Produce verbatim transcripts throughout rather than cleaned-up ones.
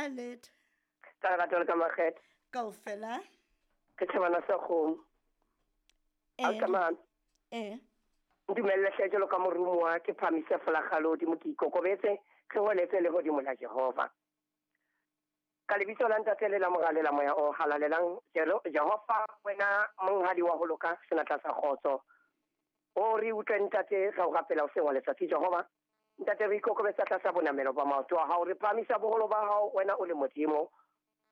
Ha letho. Ka lerato le ka makgethe. Kaofela. Ke thabana sa kgomo. Eh. Ausi Eh. Ntumelle hle jwalo ka moromuwa ke phahamise folakga lehodimo ke ikokobetse re holetse lehodimo la Jehova. Ka lebitso la Ntate le la Mora le la Moya o Halalelang, Jehova wena monghadi wa ho loka senatla sa kgotso. O re utlwe Ntate ra o rapela hoseng wa letsatsi Jehova. Ntate re ikokobetsa tlasa bonamelo ba maoto a hao, re phahamisa boholo ba hao wena o le Modimo.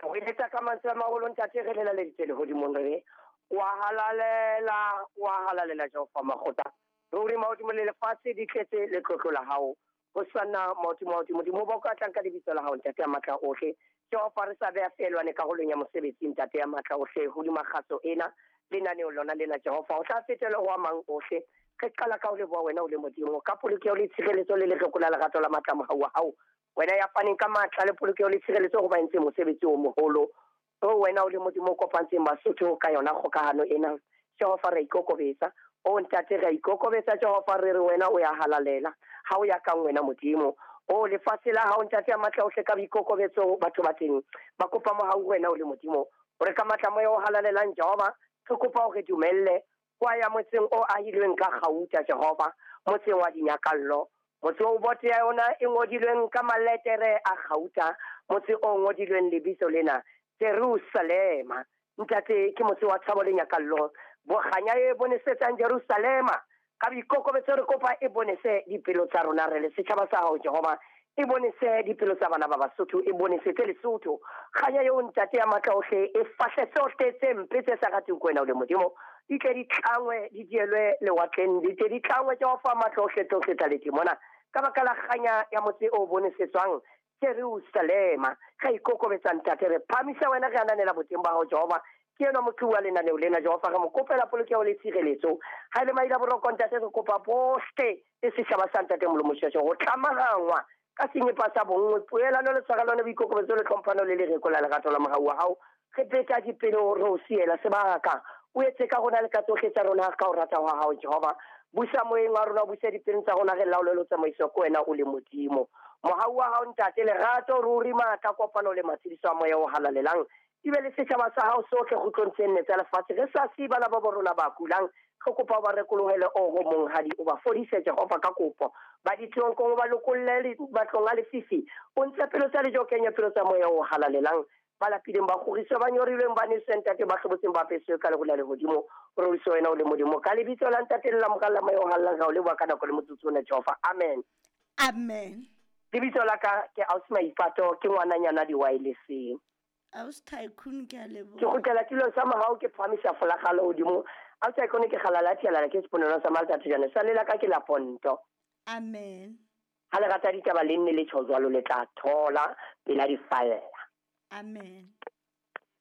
Re eletsa ka mantswe a maholo Ntate re lelaleditse lehodimong re re wa halalela, wa halalela Jehova makgotla. Ruri mahodimo le lefatshe di tletse letlotlo la hao. Ho sana mahodimo mahodimo Modimo ba ka tlang ka lebitso la hao Ntate ya matla ohle. Jehova re sa beha feelwane karolong ya mosebetsi Ntate ya matla ohle hodima kgaso ena lenaneo lona lena Jehova o tla fetela ho a mang ohle. Re qala ka ho leboha wena o le Modimo ka polokeho le tshireletso le letlotlo la lerato la matla mohau wa hao. Wena ya faneng ka matla le polokeho le tshireletso ho ba entseng mosebetsi o moholo. O wena o le Modimo o kopantseng Basotho ka yona kgokahano ena. Jehova re ikokobetsa. O Ntate re ikokobetsa Jehova re re wena o ya halalela. Ha o ya kang wena Modimo. O lefatshe la hao Ntate ya matla ohle ka boikokobetso batho ba teng. Ba kopa mohau wena o le Modimo. Hore ka matla moya o halalelang Jehova re kopa hore dumelle kwa ya motseng o ahilweng ka kgauta Jehova, motseng wa dinyakallo. Motse o bote ya yona e ngodilweng ka maletere a kgauta, motse o ngodilweng lebitso lena Jerusalema. Ntate ke motse wa thabo le nyakallo. Bokganya e bonesetsang Jerusalema. Ka boikokobetso re kopa e bonese dipelo tsa rona re le setjhaba sa hao Jehova. E bonese dipelo tsa bana ba Basotho, e bonesetse Lesotho. Kganya eo Ntate ya matla ohle e fahle tsohle tse mpe tse sa rateng ko wena o le Modimo. Di tle di tlangwe, di dielwe lewatleng, di tle di tlangwe Jehova matla ohle tsohle tsa ledimona. Ka baka la kganya ya motse o bonesetswang Jerusalema. Re ikokobetsa Ntate, re phahamisa wena, re ananela boteng ba hao Jehova. Ke enwa motho wa lenaneo lena Jehova, re mo kopela polokeho le tshireletso. Ha e le maila boroko Ntate, re kopa bohle le setjhaba sa Ntate Molomo Shweshwe ho tlamahangwa ka senyepa sa bonngwe, poelano le tshwarelano, boikokobetso le tlhomphano le lereko la lerato la mohau wa hao. Re beta dipelo re o siela sebaka. O etse ka rona le ka tsohle tsa rona ka ho rata hwa hao Jehova. Busa moyeng wa rona, busa dipelong tsa rona, re laole le tsamaiso ko wena o le Modimo. Mohau wa hao Ntate, lerato ruri, matla, kopano le matshediso a moya o halalelang di be le setjhaba sa hao sohle kgutlong tse nne tsa lefatshe. Re sa siye bana ba bo rona ba kulang, re kopa o ba rekolohele oho monghadi, o ba fodise Jehova ka kopo. Ba ditlonkong o ba lokolle matlong a lefifi, o ntshe pelo tsa lejo, o kenye pelo tsa moya o halalelang. Ba lapileng ba kgoriswe, ba nyorilweng ba neswe Ntate, ba hlobotseng ba apeswe ka leholo la lehodimo. Roriswe wena o le Modimo. Ka lebitso la Ntate le la Mora le la Moya o halalelang, ra o leboha ka nako le motsotso ona Jehova. Amen. Amen. Lebitso la ka ke Ausi Maipato, ke ngwananyana di-wirelesseng. Ausi Tycoon, ke a leboha. Ke kgutlela tulong sa mohau, ke phahamisa folakga lehodimo. Ausi Tycoon, ke kgalala thialala, ke seponelo sa Malta Thejane. Sa lela ka ke la Ponto. Amen. Ha le rata ditaba le nne le tjho jwalo, le tla thola pela di falla. Amen.